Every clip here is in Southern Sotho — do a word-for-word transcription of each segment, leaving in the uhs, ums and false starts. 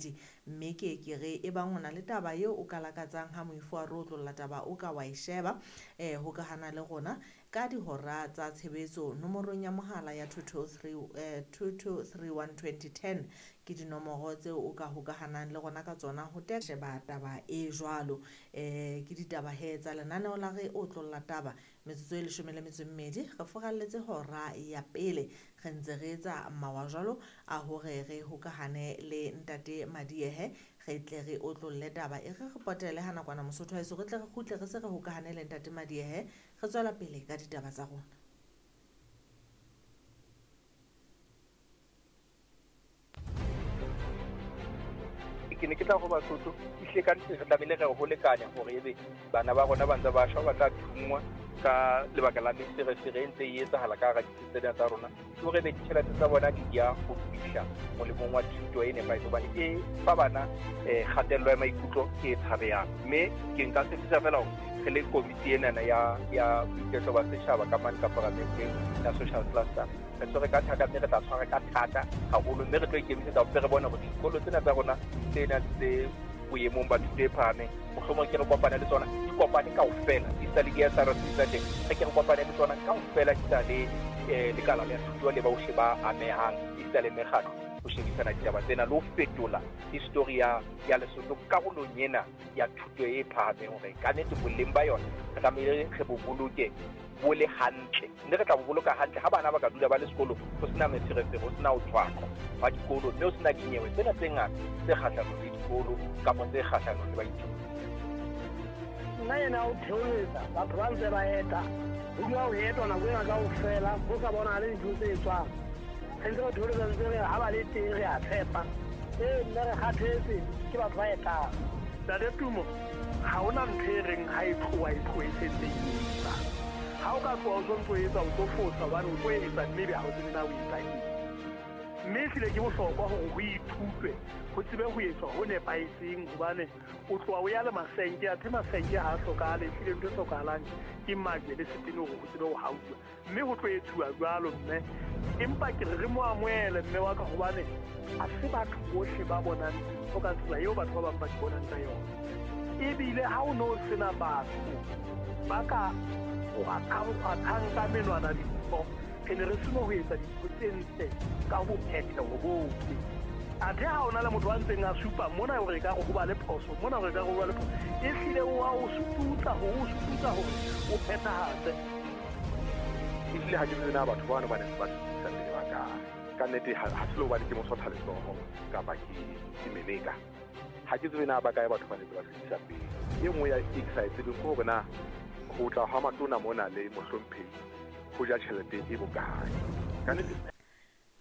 robedi. Mme ke ke re e bang o na le taba eo o ka lakatsang ha moifo wa re otlolla taba o ka wa e sheba, eh hokahana le rona ka dihora tsa tshebetso nomorong ya mohala ya two two three, eh, two two three one twenty ten ke dinomoro tseo o ka hokahanang le rona ka tsona ho te sheba taba e jwalo. Eh, ke ditaba he tsa lenaneo la re otlolla taba metsotso e leshome le metso e mmedi re furalletse hora ya pele re ntse re etsa mawa jwalo a hore re hokahane le ntate Madiehe re tle re otlolle taba e re re potele ha nakwana Mosotho wa heso re tle re kgutle re se re hokahane le ntate Madiehe re tswela pele ka ditaba tsa rona. Ke ne ke tla go Basotho ehlile ka nnete re tlamehile re ho lekanya hore ebe bana ba rona ba ntse ba shwa ba tla thungwa ka lebaka la meferefere e ntse e etsahala ka hara ditsi tsena tsa rona, ke hore ebe ditjhelete tsa bona di ya ho fihla molemong wa thuto e nepahetseng hobane e fa bana eh, kgatello ya maikutlo e tshabehang. Mme ke nka tshepisa fela hore re le komiti enana ya, ya boiketlo ba setjhaba ka mane ka paramenteng ya social cluster re tshwere ka thata mme re tla tshwara ka thata haholo mme re tlo ikemisetsa hore re bone hore dikolo tsena tsa rona tse nang tse boemong ba thuto e phahameng mohlomong ke re kopane le tsona di kopane kaofela di sa le di-S R C tsa teng re ke re kopane le tsona kaofela di sa le eh, lekala la thuto le bohle ba amehang di sa le mekgatlo ho shebisana ditaba tsena le ho fetola history ya, ya Lesotho karolong ena ya thuto e phahameng hore ka nnete boleng ba yona re tlamehile re bo boloke bo le hantle mme re tla bo boloka hantle ha bana ba ka dula ba le sekolo ho sena meferefere ho sena ho tshwaqwa ba dikolo mme ho sena dinyewe tsena tse ngata tse kgahlanong le dikolo kapa tse kgahlanong le baithuti. Nna ena o theoletsa batho ba ntse ba eta ho dula ho etwa nako ena kaofela ho sa bonahale dintho tse etswang re ntse re theoletsa ntse re ha ba le teng re a tshepa ee mme re kgathetse ke batho ba etang. Ntate Tumo ha hona ntho e reng ha e tloha e tlohe e sentse e etsa. Ha o ka tloha o sontso etsa o tlo fosa hobane o tlo etsa mme ebe ha o tsebe na o etsa eng. Mme ehlile ke bohlokwa hore ho ithutwe ho tsebe ho etswa ho nepahetseng hobane o tloha o ya le masenke athe masenke ha a hlokahale ehlile ntho e hlokahalang ke majwe le setene hore ho tsebe ho hauwa mme ho tlo etsuwa jwalo mme empa ke re re mo amohele mme wa ka hobane ha se batho bohle ba bonang dintho ka tsela eo batho ba bang ba di bonang ka yona. Ebile ha o no sena batho ba ka kgwathang ka menwana dintho re ne re seno ho etsa dintho tse ntle ka bophetheho bohle. Athe ha o na le motho a ntseng a supa mona hore e ka re ho ba le phoso mona hore e ka re ho ba le phoso ehlile o a o sututsa hore o sututsa hore o phethahatse. Ehlile ha ke tsebe na batho bano ba ne ba sutusa pele ba kae ka nnete ha se le hobane ke mosotha letsoho kapa ke ke meleka ha ke tsebe na ba kae batho ba ne ba sutusa pele. E nngwe ya e ke sa e tsebeng ke hore na ho tla ha matona mona le mohlomphehi ho ja tjhelete e bokae ka nnete.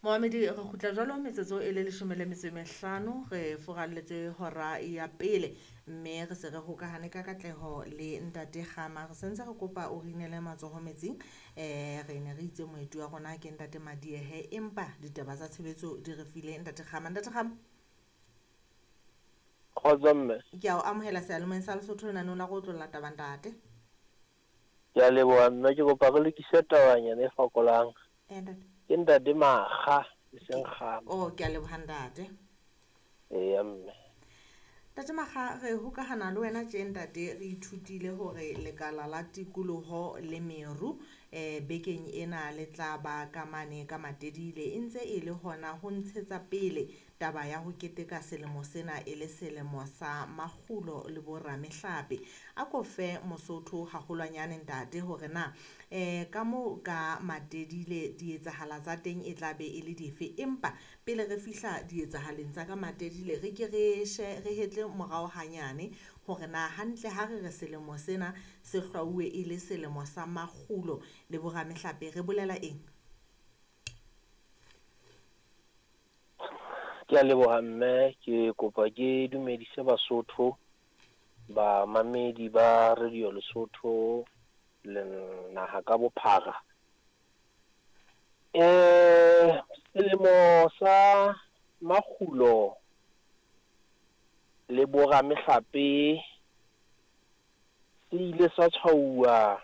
Moamedi re kgutla jwalo metsotso e le leshome le metso e mehlano re furalletse hora ya pele mme re se re hokahane ka katleho le ntate Kgama re sentse re kopa o re inele matsoho metsing eh re ne re itse moeti wa rona ke ntate Madiehe empa ditaba tsa tshebetso di re file ntate Kgama. Ntate Kgama kgotso mme ke a o amohela seyalemoyeng sa Lesotho lenaneo la go otlolla taba ntate. Ke a leboha mme ke kopa re lokise tabanyana e fokolang. Eh ntate ke ntate Makga e seng Kgama. Oh ke a leboha ntate. Eya mme Ntate Makga re hokahana le wena tje ntate re ithutile hore lekala la tikoloho le meru eh bekeng ena le tla ba ka mane ka Matedile e ntse e le hona ho ntshetsa pele taba ya ho keteka selemo sena e le selemo sa makgulo le boramehlape. A ko fe Mosotho haholwanyane ntate hore na eh ka mo ka Matedile dietsahala tsa teng e tla be e le dife empa pele re fihla dietsahaleng tsa ka Matedile re ke re she re hetle morao hanyane hore na hantle ha re re selemo sena se hlwauwe e le selemo sa makgulo le boramehlape re bolela eng? Ke a leboha mme ke kopa ke dumedise Basotho ba mamedi ba Radio Lesotho le naha ka bophara. Eh selemo sa makgulo le boramehlape se ile sa tshwauwa